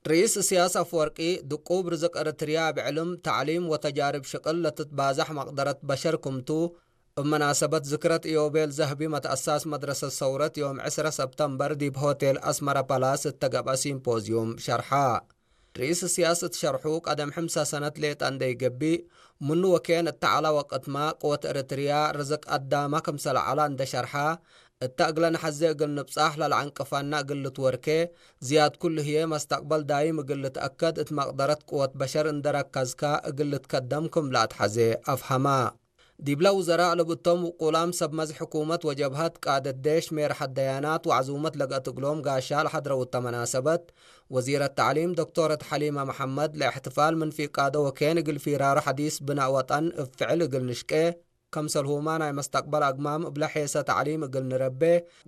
ርኢስ እስያስ ኣፍወርቂ ድቁብ ርዝቅ እርትርያ ብዕልም፣ ታዕሊም ወተጃርብ ሽቅል ለትትባዛሕ መቅደረት በሸር ክምቱ፣ እብ መናሰበት ዝክረት ኢዮቤል ዘህቢ መትአሳስ መድረሰት ሰውረት ዮም ዕስረ ሰብተምበር ዲብ ሆቴል አስመራ ፓላስ እተገብአ ሲምፖዝዩም ሸርሓ። ርኢስ እስያስ እት ሸርሑ ቀደም ሕምሳ ሰነት ሌጠ እንደ ይገብእ፣ ምኑ ወኬን እተ ዐላ ወቅትማ ቅወት እርትርያ ርዝቅ አዳማ ክምሰለ ዐላ እንደ ሸርሓ፣ እተ እግለ ነሐዜ እግል ንብጻሕ ለለዐንቅፋና እግል ልትወርኬ፣ ዝያድ ኩሉ ህዬ መስተቅበል ዳይም እግል ልትአከድ እት መቅደረት ቅወት በሸር እንደ ረከዝካ እግል ልትከደም ክም ለአትሐዜ አፍሀማ። ዲብለ ውዘራእ ለብቶም ውቁላም ሰብ መዝ ሕኩመት ወጀብሀት ቃደት ዴሽ ሜርሐት ደያናት ወዐዙመት ለገአት እግሎም ጋሻ ለሐድረው እተ መናሰበት፣ ወዚረት ተዕሊም ዶክቶረት ሐሊመ መሐመድ ለእሕትፋል ምን ፊቃዶ ወኬን እግል ፊራሮ ሐዲስ ብናእ ወጠን እብ ፍዕል እግል ንሽቄ፣ ከምሰልሁማ ናይ መስተቅበል አግማም እብለ ሔሰ ተዕሊም እግል ንረቤ፣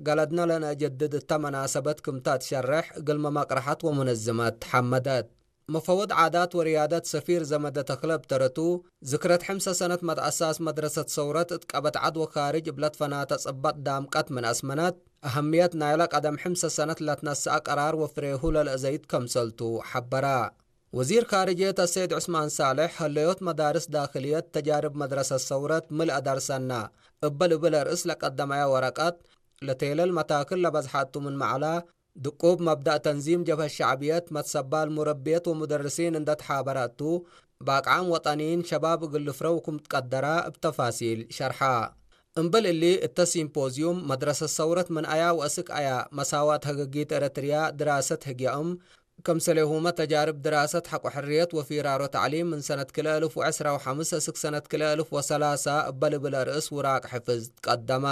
ገለድነ ለነአጀድድ እተ መናሰበት ክምተ ትሸርሕ እግልመ መቅረሐት ወሙነዝመት ሐመደት። መፈወድ ዓዳት ወርያደት ሰፊር ዘመደ ተክለ እብ ተረቱ፣ ዝክረት ሕምሰ ሰነት መትአሳስ መድረሰት ሰውረት እት ቀበት ዐድ ወካርጅ እብ ለትፈናተ ጽበጥ ዳምቀት ምን አስመነት፣ አሀምየት ናይለ ቀደም ሕምሰ ሰነት ለትነስአ ቀራር ወፍሬሁ ለልአዘይት ከምሰልቱ ሐበራ። ወዚር ካርጅየት አሰይድ ዑስማን ሳልሕ፣ ህለዮት መዳርስ ዳክልየት ተጃርብ መድረሰት ሰውረት ምልአ ደርሰና እበ ልብል አርእስ ለቀደመያ ወረቀት፣ ለቴለል መታክል ለበዝሐ እቱ ምን መዕላ፣ ድቁብ መብዳእ ተንዚም ጀብሀት ሸዕብየት መትሰባል ሙረብየት ወሙደርሲን እንደ ተሓበረ እቱ፣ በአቅዓም ወጠኒይን ሸባብ እግል ልፍረው ክም ትቀደራ እብ ተፋሲል ሸርሓ። እምበል እሊ፣ እተ ሲምፖዝዩም መድረሰት ሰውረት ምን አያ ወአስክ አያ መሳዋት ሀገጊት ኤረትርያ ድራሰት ህግያእም፣ ከምሰሌሁመ ተጃርብ ድራሰት ሐቆ ሕርየት ወፊራሮ ተዕሊም ምን ሰነት ክልኤ እልፍ ወዕስራ ወሐምስ እስክ ሰነት ክልኤ እልፍ ወሰላሳ እበ ልብል አርእስ ውራቅ ሕፍዝ ትቀደማ።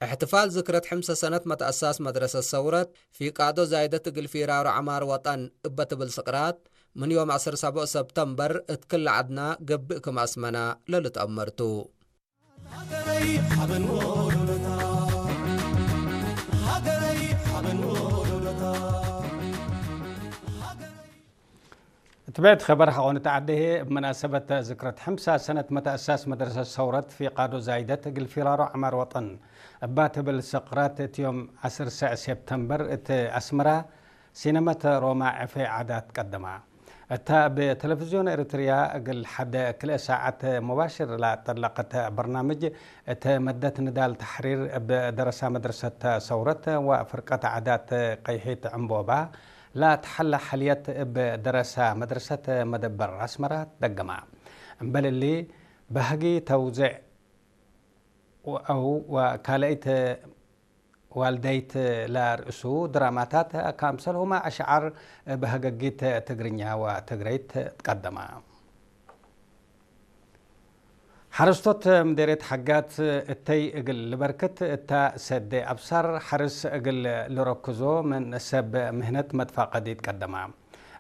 እሕትፋል ዝክረት ሕምሰ ሰነት መትአሳስ መድረሰት ሰውረት፣ ፊቃዶ ዛይደት እግል ፊራሮ ዐማር ወጠን እበ ትብል ስቅራት፣ ምን ዮም ዐስር ሰቦዕ ሰብተምበር እት ክል ዐድና ገብእ ክም አስመና ለልትአመር ቱ። ሃገረይ ሓበን ወሎዶታ፣ ሃገረይ ሓበን ወሎዶታ፣ ሃገረይ እትቤት ኸበር ሐቆኒ ተዓደሄ፣ እብ መናሰበት ዝክረት ሕምሳ ሰነት መተአሳስ መድረሰት ሰውረት ፊቃዶ ዛይደት እግል ፊራሮ ዐማር ወጠን እባ ትብል ስቅራት፣ እቲ ዮም ዐስር ሰዕ ሴፕተምበር እት አስመራ ሲነመት ሮማ ዕፌ ዓዳት ቀደማ። እታ እብ ቴሌቪዝዮን ኤሪትርያ እግል ሐደ ክልኤ ሳዓት ሙባሽር ለጠለቀት በርናምጅ፣ እት መደት ንዳል ተሕሪር እብ ደረሳ መድረሰት ሰውረት ወፍርቀት ዓዳት ቀይሒት ዕምቦባ፣ ለተሐለ ሐልየት እብ ደረሳ መድረሰት መደበር አስመራ ትደገማ። እምበል እሊ፣ በህጊ ተውዜዕ አው ወካልአይት ዋልደይት ለርእሱ ድራማታት፣ ከምሰልሁማ አሽዓር በህገጊት ትግርኛ ወትግረይት ትቀደማ። ሐረስቶት ምዴርየት ሐጋት እተይ እግል ልበርክት እታ ሰዴ አብሳር ሐርስ እግል ልረክዞ ምን ሰብ ምህነት መትፋቀዲ ትቀደማ።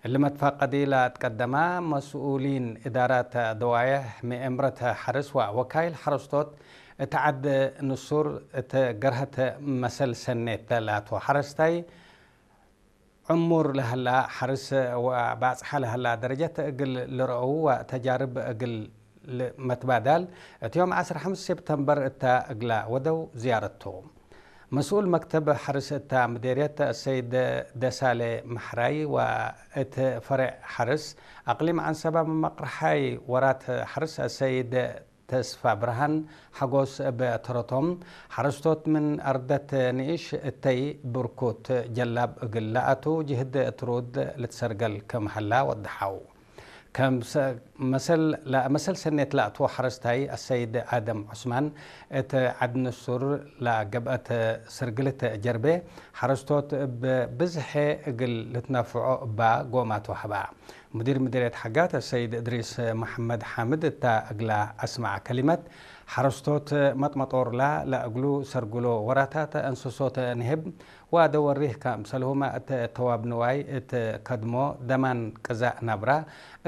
እሊ መትፋቀዲ ለትቀደማ መስኡሊን እዳራት ደዋየሕ ምኤምረት ሐርስ ወወካይል ሐረስቶት እት ዐድ ንሱር እት ገርሀት መሰል ሰኔት ላቱ ሐረስታይ ዕሙር ለሀላ ሐርስ ወባጽሐ ለሀላ ደረጀት እግል ልረአው ወተጃርብ እግል መትባዳል፣ እቲ ዮም ዐስር ሐምስ ሴፕተምበር እታ እግላ ወደው ዝያረቱ። መስኡል መክተብ ሐርስ እታ ምዴርየት አሰይድ ደሳሌ መሕራይ ወእት ፈሬዕ ሐርስ አቅሊም ዐንሰባ መመቅርሓይ ወራት ሐርስ አሰይድ ተስፋ ብርሃን ሐጎስ እብ ተረቶም፣ ሐረስቶት ምን አርደት ንኢሽ እተይ ብርኩት ጀላብ እግል ለአቱ ጅህድ ትሩድ ልትሰርገል ክም ሀላ ወደሐው። ከም ሰ-፣ መሰል፣ ለመሰል ሰኔት ለአቱ ሐረስታይ አሰይድ አደም ዑስማን፣ እት ዐድ ንሱር ለገብአት ስርግልት ጀርቤ፣ ሐረስቶት እብ ብዝሐ እግል ልትነፍዖ እባ ጎማት ወሀባ። ሙዲር ምዲርየት ሐጋት ሰይድ እድሪስ መሐመድ ሓምድ እታ እግላ አስመዐ ከሊመት፣ ሐረስቶት መጥመጦርላ ለእግሉ ሰርግሎ ወራታት እንስሶት ንህብ ወአደ ወሪህ ከምሰልሁመ እት ተዋብ ንዋይ እት ከድሞ ደማን ቅዛእ ናብራ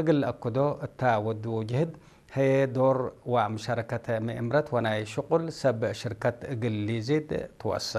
እግል ለአክዶ እታ ወድዎ ጅህድ፣ ሀዬ ዶር ወምሸረከት ምእምረት ወናይ ሽቁል ሰብ ሽርከት እግል ሊዚድ ትወሰ።